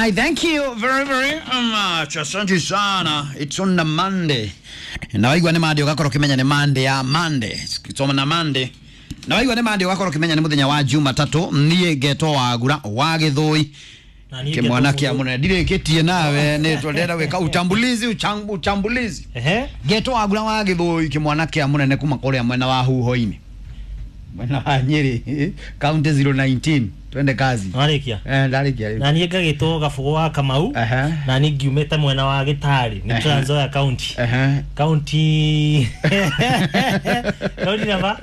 Right, thank you very very much. Asante sana. It's on the Monday. Na waigua nĩ Monday ũgakorwo ũkĩmenya nĩ Monday ya Monday. It's on the Monday. Na waigua nĩ Monday ũgakorwo ũkĩmenya nĩ mũthenya wa Jumatatũ. Niĩ ngetwo Wagura wa Gĩthũi. Na niĩ Kĩmwana ngetwo kĩa Mũndũ. mũnene ndirĩkĩtie nawe nĩ twendera gwĩka utambulizi uchambulizi. Ehe. Ngetwo Wagura wa Gĩthũi kĩmwana kĩa mũnene kuma kũrĩa mwena wa Huho-inĩ. Mwena wa Nyĩrĩ, county 019. Twende kazi. Warĩkia. Eh, ndarĩkia rĩu. Na niĩ ngagĩtwo Gabũgũ wa Kamau. Aha. Na niĩ ngiumĩte mwena wa Gĩtarĩ, nĩ Ehe. Trans Nzoia County. Aha. County County namba?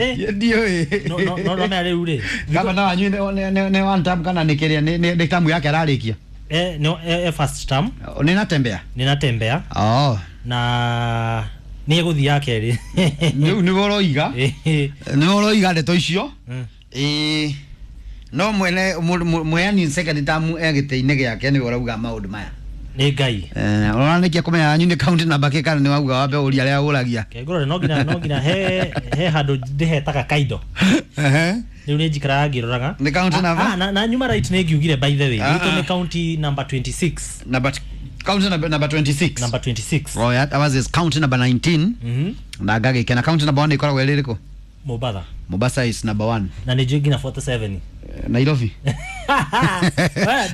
Eh. Ndiũĩ. No no no no mea rĩu rĩ. Gavana wanyu nĩ one term kana nĩ kĩrĩa nĩ term yake ararĩkia? Eh no first term Nĩ natembea? ninatembea Oh. na nĩ egũthiĩ ya kerĩ. Rĩu nĩwe ũroiga. Eh. Nĩwe ũroiga ndeto icio. Mm. Ĩĩ. No mwene mweani second term e gĩtĩ-inĩ gĩake nĩwe ũrauga maũndũ maya. Nĩ Ngai. Eh, ũranĩkia kũmenya yanyu nĩ county namba kĩ kana nĩ wauga wambe ũria arĩa ũragia. Kengũrore no nginya he handũ ndĩhetaga kaindo. Ehe. Rĩu nĩ njikaraga ngĩroraga. Nĩ county number? Ah, na nyuma right nĩ ngiugire by the way. Ah, Itũ ah. nĩ county number 26. Number county number 26. Number 26. Oh, yeah, ours is county number 19. Mhm. Na ngagĩkena county number 1 ĩkoragwo ĩrĩ ĩrĩkũ? Mombasa. Mombasa is number 1. Na nĩ njũĩ nginya 47. Nairobi.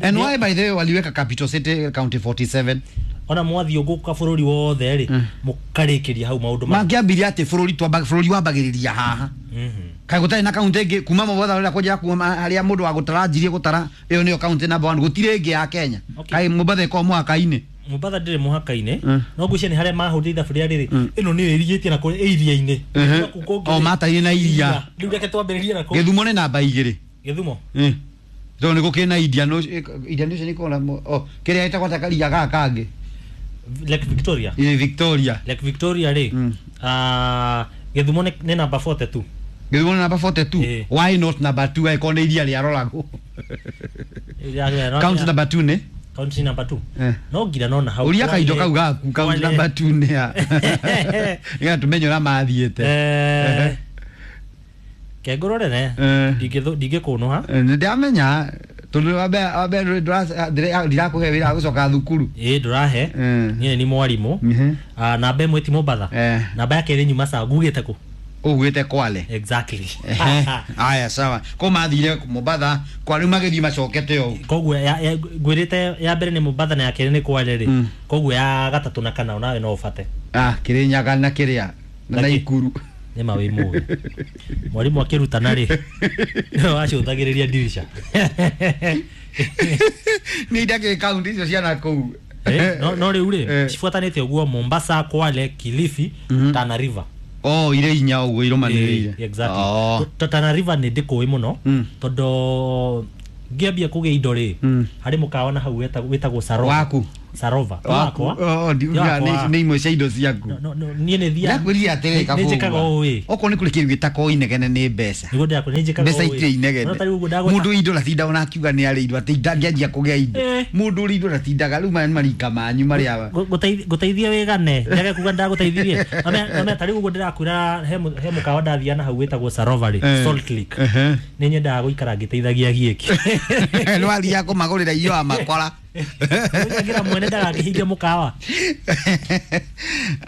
And why by the way waliweka capital city county 47? Ona mwathiũngũka bũrũri wothe rĩ, mũkarĩkĩria hau maũndũ ma. Mangĩambirie atĩ bũrũri twamba bũrũri wambagĩrĩria haha. Kaĩ gũtarĩ na kaunti ĩngĩ kuma Mombasa ũrĩa kũnjĩra kuma harĩa mũndũ wa gũtara njirie gũtara ĩyo nĩyo kaunti number 1 gũtirĩ ĩngĩ ya Kenya. Okay. Kaĩ Mombasa ĩkoragwo mũhaka-inĩ. Mombasa ndĩrĩ mũhaka-inĩ. Mm. No ngwĩciria nĩ harĩa mahũrire ithabu rĩa rĩrĩ, ĩno nĩyo ĩrigĩtie na kũrĩa ĩ iria-inĩ. Mhm. Na kũu kũngĩ O rĩ, mataire na iria. Rĩu reke twambĩrĩrie na kũu. Gĩthumo nĩ namba igĩrĩ. Gĩthumo. Tondũ nĩ gũkĩrĩ na Indian Ocean, Indian Ocean ĩkoragwo na oh, kĩrĩa ĩtagwo ta karia gaka kangĩ. Lake Victoria. Ĩ Victoria. Lake Victoria rĩ, ah, Gĩthumo nĩ namba 42. Gĩthumo nĩ namba 42. Ĩ. Why not number 2 angĩkorwo nĩ iria rĩaroragwo? County number 2 nĩ? County number 2. Eh. No ngira nona hau. Ũria kaindo kau gaku county Kwale. number 2 nĩ ya. Nĩgetha tũmenye ũrĩa mathiĩte. Eh. Kengũrore ne. Eh. Ndingĩkũnũha. Nĩ ndamenya tondũ wambe ndirakũhe wĩra wa gũcoka thukuru. Ĩ ndũrahe. Eh. Niĩ nĩ mwarimũ. Mhm. Ah, namba ĩmwe ti Mombasa. Eh. Namba ya kerĩ nyuma sa ngugĩte kũ? Ũgwĩte Kwale. Exactly. Ehe. Aya sawa. Ko mathire Mombasa kwa rĩu magĩthiĩ macokete ũũ. Koguo ngwĩrĩte ya mbere nĩ Mombasa na ya kerĩ nĩ Kwale rĩ. Koguo ya gatatũ na kana onawe no ũbate. Ah, Kĩrĩnyaga na kĩrĩa na Lakini- Naikuru. Nĩ ma wĩ mũgĩ. Mwarimũ akĩrutana rĩ, nĩwe wacũthagĩrĩria ndirica. Nĩ ndakĩ kaunti icio ciana kũu. Eh, no rĩu rĩ, Eh. cibuatanĩte ũguo Mombasa, Kwale, Kilifi, Tana River. Oh, irĩ inya ũguo irũmanĩrĩire. Eh, exactly. Oh. Tana River nĩ ndĩkũĩ mũno tondũ ngĩambia kũgĩa indo rĩ, harĩ mũkawa na hau wĩtagwo Sarova. Waku. Sarova. Ti Waku. wakwa. Oh, Ti wakwa. nĩ imwe cia indo ciaku. No, niĩ nĩ thiaga. Ndakwĩrire atĩrĩ Nĩ njĩkaga ũũ ĩ. Okorwo nĩ kũrĩ kĩndũ gĩtakoo inegene nĩ mbeca. Nĩguo ndĩrakwĩra nĩ njĩkaga Mbeca ũũ ĩ. itirĩ inegene. No ta rĩu ũguo ndagweta- Mũndũ indo ndatinda ona akiuga nĩ arĩ indo atĩ ndangĩanjia kũgĩa indo. Eh. Mũndũ ũrĩ indo ndatindaga rĩu maya nĩ marika manyu marĩa Ngũteithie wĩgane njage kuga ndagũteithirie Nomea ta rĩu ũguo ndĩrakwĩra he mũkawa ndathiaga na hau wĩtagwo Sarova rĩ, Eh. Salt Lake. Ehe. Nĩ nyendaga gũikara ngĩteithagia giĩki. Nĩ wathiaga kũmagũrĩra irio wa makora. Ngira mwene ndagakĩhinge mũkawa.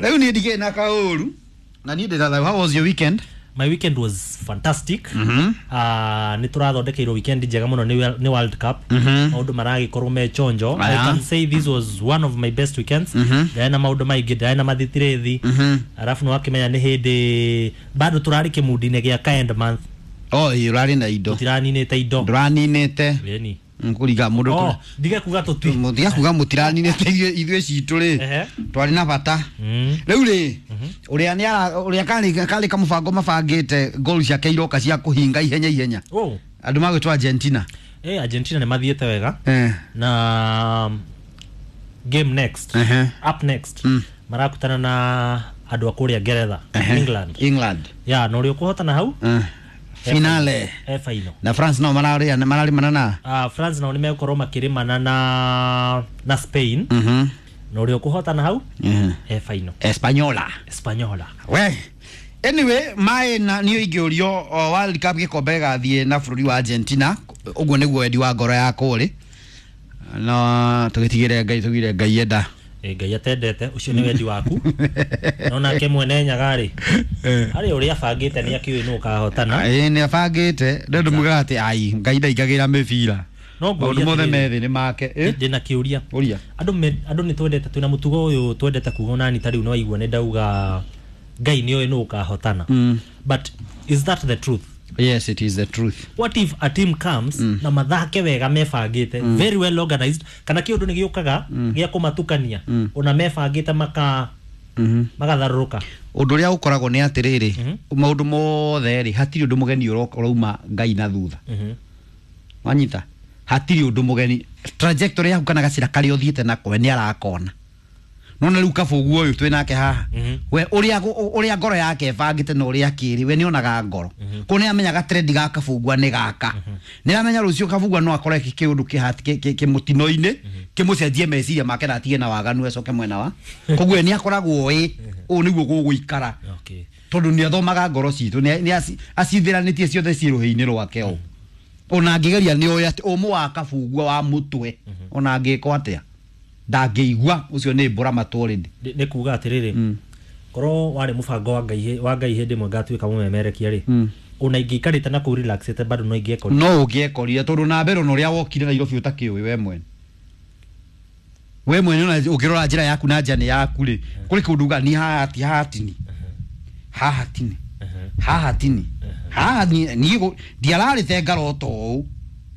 Rĩu niĩ ndigĩrĩ na kaũru na niĩ ndĩra how was your weekend? My weekend was fantastic. Mhm. Ah, nĩ tũrathondekeirwo weekend njega mũno nĩ World Cup. Maũndũ maragĩkorwo me chonjo. I Aya. can say this was one of my best weekends. Ndarĩ na maũndũ maingĩ, ndarĩ na mathitirethi. Arabu nĩ wakĩmenya nĩ hĩndĩ bado tũrarĩ kĩmundi-inĩ gĩa ka end month. Oh, ĩ ũrarĩ na indo. Tũtiraninĩte indo. Ndũraninĩte. Ĩni. Kũringa mũndũ Oh, ndige kuga tũtui. Mũtiga kuga mũtiraninĩte ithuĩ citũ rĩ. Ehe. Twarĩ na bata. Rĩu rĩ ũrĩa nĩ ũrĩa karĩ kamũbango mabangĩte goal ciake iroka cia kũhinga ihenya ihenya. Oh. Andũ magwĩtwo Argentina. Eh, Argentina nĩ mathiĩte wega. Eh. Na game next. Ehe. Up next. Marakutana na andũ a kũrĩa Ngeretha, Ehe. England. England. Ya, na ũrĩa ũkũhotana hau Eh. Finale. e final. Na France no mararĩa mararĩmana na. Ah, France nao nĩ megũkorwo makĩrĩmana na Spain. Mhm. Na ũrĩa ũkũhotana hau Mhm. e final. Espanyola. Espanyola. We. Anyway, maĩ na niĩ ingĩũrio o World Cup gĩkombe gĩgathiĩ na bũrũri wa Argentina, ũguo nĩguo wendi wa ngoro yakwa ũrĩ. No tũgĩtigĩre Ngai, tũgire Ngai enda. Ngai atendete ũcio nĩ wendi waku, no nake mwene Nyaga rĩ, harĩ ũrĩa abangĩte nĩ akĩũĩ nũ ũkahotana. Ĩĩ, nĩ abangĩte ndũ mugaga atĩ ai Ngai ndaingagĩra mĩbira. No maũndũ ngũria mothe atĩrĩrĩ, methĩ nĩ make. Ndĩna kĩũria. Ũria. Andũ nĩ twendete, twĩna mũtugo ũyũ twendete kuga, onani ta rĩu nĩ waigua nĩ ndauga Ngai nĩ oĩ nũ ũkahotana, but is that the truth? Yes, it is the truth. What if a team comes na mathake wega, mebangĩte, very well organized, kana kĩũndũ nĩ gĩũkaga gĩa kũmatukania, ona mebangĩte maka magatharũrũka? Ũndũ ũrĩa ũkoragwo nĩ atĩrĩrĩ, maũndũ mothe rĩ, hatirĩ ũndũ mũgeni ũrauma Ngai na thutha. Wanyita, hatirĩ ũndũ mũgeni. Trajectory yaku kana gacĩra karĩa ũthiĩte nako, we nĩ arakona. Nona rĩu kabũgu ũyũ twĩ nake haha, we ũrĩa ũrĩa ngoro yake ĩbangĩte na ũrĩa akĩrĩ, we nĩonaga ngoro kũu, nĩ amenyaga trend ga kabungwa nĩ gaka, nĩ aramenya rũciũ kabungwa no akore kĩũndũ kĩmũtino-inĩ kĩmũcenjie meciria make na atige na waganu acoke mwena wa koguo nĩ akoragwo ĩ ũũ nĩguo gũgũikara, tondũ nĩ athomaga ngoro citũ, nĩ acithiranĩtie ciothe ciĩ rũhĩ-inĩ rwake. O ona angĩgeria, nĩ oĩ atĩ ũmũ wa kabungwa wa mũtwe, ona angĩkwo atĩa ndangĩigua, ũcio nĩ mbũra matũ already. Nĩ kuga atĩrĩrĩ, korwo warĩ mũbango wa Ngai, wa Ngai hĩndĩ ĩmwe ngatuĩka mũmemerekia rĩ, ona ingĩikarĩte na kũu relaxĩte, bado no ingĩekorire. No ũngĩekorire, tondũ na mbere ona ũrĩa wokire Nairobi ũtakĩũĩ we mwene, we mwene ona ũngĩrora njĩra yaku na njane yaku rĩ, kũrĩ kũndũ uga ni haha ti haha tini haha tini haha tini haha niĩ ndiararĩte ngarota ũũ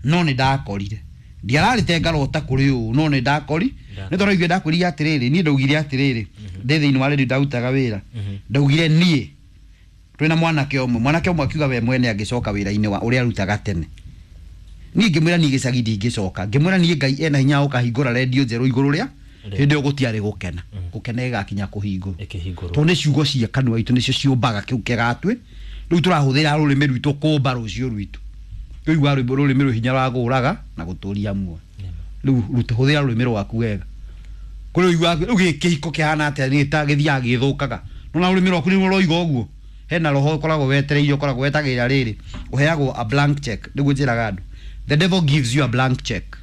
no nĩ ndakorire, ndiararĩte ngarota kũrĩ ũũ no nĩ ndakori. Nĩ tondũ ithuĩ ndakwĩrire atĩrĩrĩ, niĩ ndaugire atĩrĩrĩ ndĩ thĩinĩ wa redio ndarutaga wĩra, ndaugire niĩ twĩna mwanake ũmwe, mwanake ũmwe akiuga we mwene angĩcoka wĩra-inĩ wa ũrĩa arutaga tene. Niĩ ngĩmwĩra niĩ gĩcagi ndingĩcoka, ngĩmwĩra niĩ Ngai ena hinya wa gũkahingũra redio njerũ igũrũ rĩa hĩndĩ ĩyo gũtiarĩ gũkena, gũkena ĩgakinya kũhingũrwo. Ĩkĩhingũrwo. Tondũ nĩ ciugo cia kanua itũ nĩcio ciũmbaga kĩu kĩgatwĩ rĩu tũrahũthĩra rũrĩmĩ rwitũ kũmba rũciũ rwitũ. Rĩu rwĩmbo rũrĩmĩ rwĩ hinya wa gũraga na gũtũria muoyo. Rĩu hũthĩra rũrĩmĩ rwaku wega. Kũrĩ ũiguaga rĩu gĩkĩ kĩhiko kĩhana atĩa, nĩ ta gĩthiaga gĩthũkaga, nona rũrĩmĩ rwaku nĩruo rwoiga ũguo. Hena roho ũkoragwo wetereire, ũkoragwo wetagĩrĩra rĩrĩ ũheagwo a blank check. Nĩguo njĩraga andũ, the devil gives you a blank check,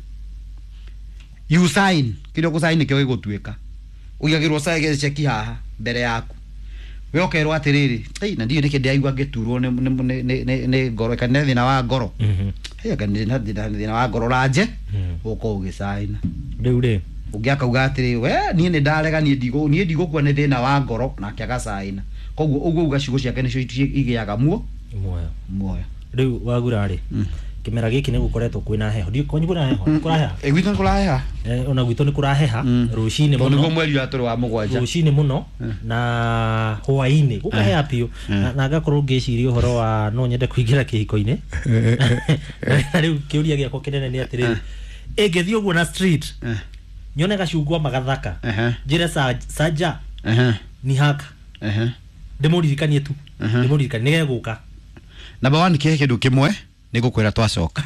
you sign. Kĩrĩa ũgũsign nĩkĩo gĩgũtuĩka. Ũigagĩrwo sign cheki haha mbere yaku, we ũkerwo atĩrĩrĩ, "Ei, na ndiũĩ nĩkĩ ndĩraigua ngĩturwo nĩ ngoro kana nĩ thĩna wa ngoro." Hey, anga nĩ na thĩna wa ngoro ranje ũkorwo ũgĩcaina. Rĩu rĩ, ũngĩ akauga atĩrĩ, we niĩ nĩ ndarega, niĩ ndigũkua nĩ thĩna wa ngoro, nake agacaina. Koguo ũguo uga ciugo ciake nĩcio igĩaga muoyo. Muoyo. Rĩu wagura rĩ, kĩmera gĩkĩ nĩ gũkoretwo kwĩna heho. Ndiũĩ kwanyu kwĩna heho? Nĩ kũraheha? Ĩ, gwitũ nĩ kũraheha. Ona gwitũ nĩ kũraheha rũcinĩ tondũ nĩguo mũno. Mweri ũrĩa tũrĩ wa 7. Rũcinĩ mũno na hwaĩ-inĩ gũkaheha biũ, na ngakorwo ngĩciria ũhoro wa no nyende kũingĩra kĩhiko-inĩ. Na rĩu kĩũria gĩakwa kĩnene nĩ atĩrĩrĩ, ĩngĩthiĩ ũguo na street nyone gacungwa magathaka, njĩre sanja ni haka, ndĩmũririkanie tu, ndĩmũririkanie nĩgegũka. Number one, kĩhe kĩndũ kĩmwe nĩ ngũkwĩra twacoka.